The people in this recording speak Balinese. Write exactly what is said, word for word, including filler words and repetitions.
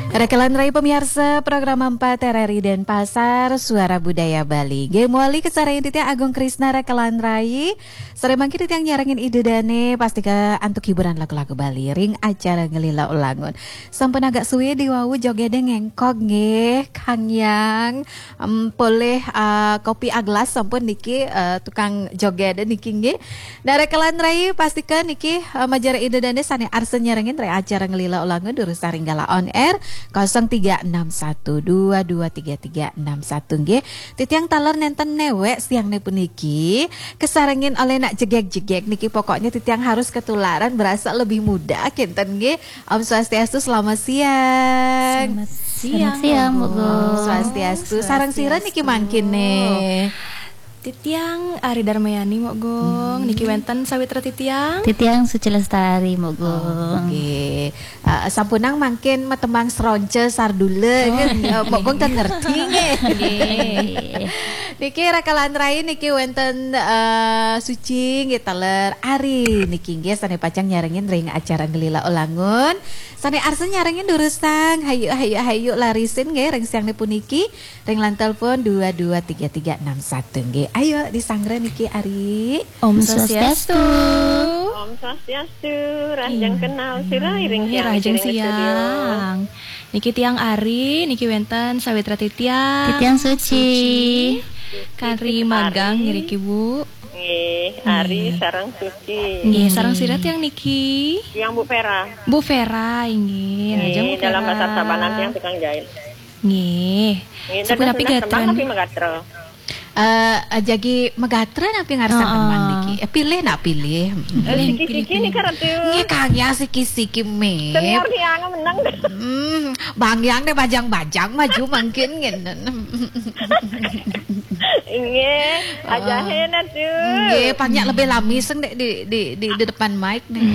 Rekelan Rai pamiarsa program empat R R I Denpasar, Suara Budaya Bali. Nggih, mawali kasarengin titiang Agung Krisna Rekelan Rai. Sareng mangkin titiang nyarengin Ida Dane, pastika antuk hiburan lagu-lagu Bali ring acara Ngelila Ulangun. Sampun agak suwe diwawu jogede ngengkog nggih, Kang Yang. Em, polih, eh, kopi aglas sampun niki, eh, tukang jogede niki nggih. Nah, Rekelan Rai pastika niki, eh, majeng Ida Dane sane arsa nyarengin ring acara Ngelila Ulangun durusang ring Gala On Air kosong tiga enam satu dua dua tiga tiga enam satu nggih. Titiang taler nenten newek siangne puniki, kasarengin olih nak jegeg-jegeg niki, pokoknya titiang harus ketularan berasa lebih muda kinten nggih. Om Swastiastu, selamat siang. Selamat siang, Mbok Gung. Swastiastu. Sareng sira niki mangkine? Titiang Ari Darmayani, Mbok Gung. Niki wenten sawitra titiang. Titiang Suci Lestari, Mbok Gung. Nggih. Eh, sampunang mangkin matembang sronce sardula nggih. Eh, Mbok Gung ten ngerti nggih. Niki Rekelan Rai niki wenten, eh, Suci nggih, taler Ari niki nggih sane pacang nyarengin ring acara Ngelila Ulangun. Sane arsa nyarengin durusang, hayu, hayu, hayu larisin nggih ring siangne puniki ring line telepon dua dua tiga tiga enam satu nggih. Ayo disanggra niki Ari. Om Swastiastu. Om Swastiastu, rahajeng kenal sira iring Nggih, siang, rahajeng iring studio. Siang. Niki tiang Ari, niki wenten sawitra titiang. Titiang Suci. Kari magang ngriki, Bu. Nggih, Ari sareng Suci. Nggih, sareng sira tiang niki. Yang Bu Vera. Bu Vera, inggih. Rahajeng Bu Nggih, dalam Vera. pasar Sabanan yang tukang jahit. Nggih. Nggih, Sampun dados napi belas gatra? Tembang tapi magatra. Eh, eh, jagi magatra napi ngarsan Heeh. Tembang niki? Eh, pilih nak pilih. Eh, siki-siki nika Ratu. Nggih, Kang, ya siki-siki me. Senior tiang menang. Hmm, Bang Yang deh bajang-bajang maju mangkin ngenen. Inggih, ajahe Ratu. Nggih, pang nyak lebih lami sing dek di di di, di depan mic nih.